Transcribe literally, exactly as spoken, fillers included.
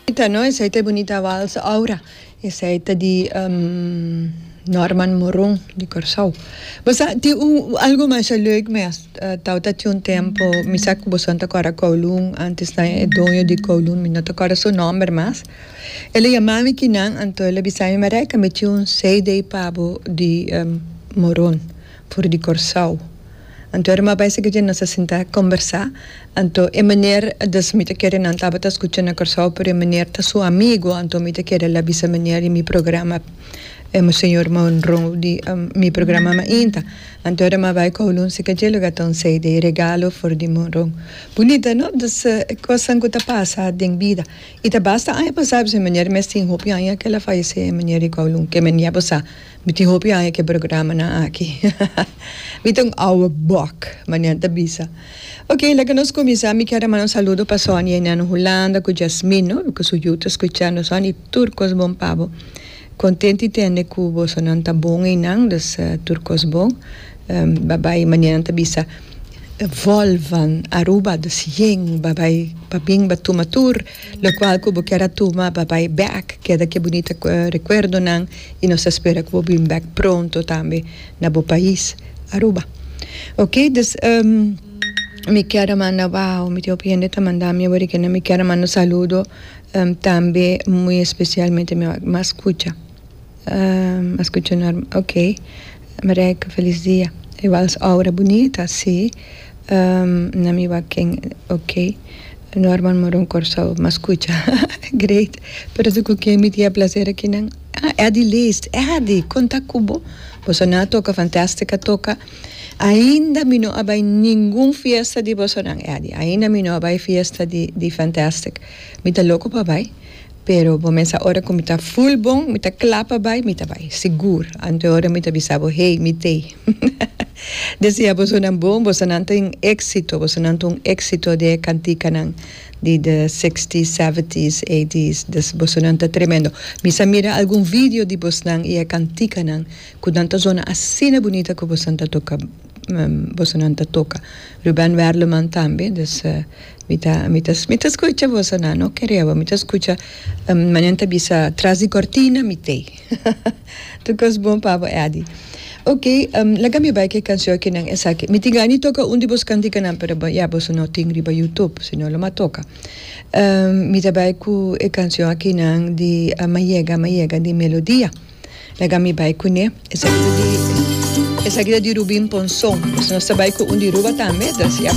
Bunita, no? Esey ta bunita wals Aura. Esey ta di um, Norman Moron di Corsou. Bosa, tin un, algo mas leuk mes. Uh, tawata tin un tempo, mi sa cu boso ta corda Kowloon, antes na e doño di Kowloon, mi no ta corda su nomber mas. El a yama mi kinan, anto el a bisa mi, Marijke, mi tin un C D pa bo di um, Moron, for di Corsou. Anto era m'a bay serca dje, nos a sinta combersa. Anto e meneer, dus mi ta kere nan tabata scucha na Corsou, pero e meneer ta su amigo, anto mi ta kere el a bisa meneer di mi programa, eh, señor Monroe di um, mi programa Mainta. Anto era m'a bay Kowloon serca dje, loke un C D regalo for di Monroe. Bunita, no? Dus uh, cosnan cu ta pasa den bida. Y ta basta aña pasa, e meneer mes tin hopi aña cu el a fayece, meneer di Kowloon, ke meneer pasa. Mi tin hopi aña cu e programa nan aki. Mi ta un oude bok, meneer ta bisa. Ok, laga nos cuminsa. Mi kier manda un saludo pa Sonia na Hulanda, cu Jasmine, no? Cu su yiu ta scuchando Sonia, tur cos bon pa bo. Contento di tende cu boso nan ta bon einan, dus uh, tur cos bon. Um, babay, meneer ta bisa vol van Aruba, dus yen, babay, paping batuma tur, locual cu bo kier a tuma, babay back, keda cu bunita uh, recuerdo nan, y nos ta spera cu bo bin back pronto tambe na bo pais, Aruba. Ok, dus um, mi kier manda, wow, mi tin hende ta manda mi, awor cu mi kier manda saludo um, tambe muy especialmente mi m'a scucha. Um, m'a scucha, ok. Marijke, feliz dia. Igual aura bunita, si. Um, na mi ken, ok. Norman Moron Corsou, m'a scucha. Great. Pero se cu ken mi tin placer aki nan. Ah, Eddie Leest. Eddie, con ta cu bo. Boso nan a toca, Fantastic a toca. Ainda mi no a bay ningun fiesta di boso nan, Eddie. Ainda mi no a bay fiesta di, di Fantastic. Mi ta loco pa bay. Pero bo mes sa ora cu mi ta full bon, mi ta cla pa bay, mi ta bay. Sigur. Anto ora mi ta bisa bo, hey, mi tey. Desea boso nan bon, boso nan tin exito, boso nan tin exito di cantica nan di the sixties, seventies, eighties, dus boso nan ta tremendo. Mi sa mira algun video di boso nan y e cantica nan, cu nan ta zona asina bunita cu boso nan ta toca, um, boso nan ta toca. Ruben Werleman tambe, dus uh, mi ta mi ta mi ta scucha boso nan, no kere bo, mi ta scucha um, manera ta bisa tras di cortina mi tey. Tur cos bon pa bo, Eddie. Ok, um, laga mi bay cu e cancion aki nan esaki. Mi tin gana toca un di boso cantica nan, pero ya boso no tin riba YouTube, sino lo m'a toca. Um, mi ta bay cu e cancion aki nan di uh, M'a Yega, M'a Yega di Melodia. Laga mi bay cu ne. Esaki di esaki di Rubin Ponson. Nos ta bay cu un di Ruba tambe, dus ya.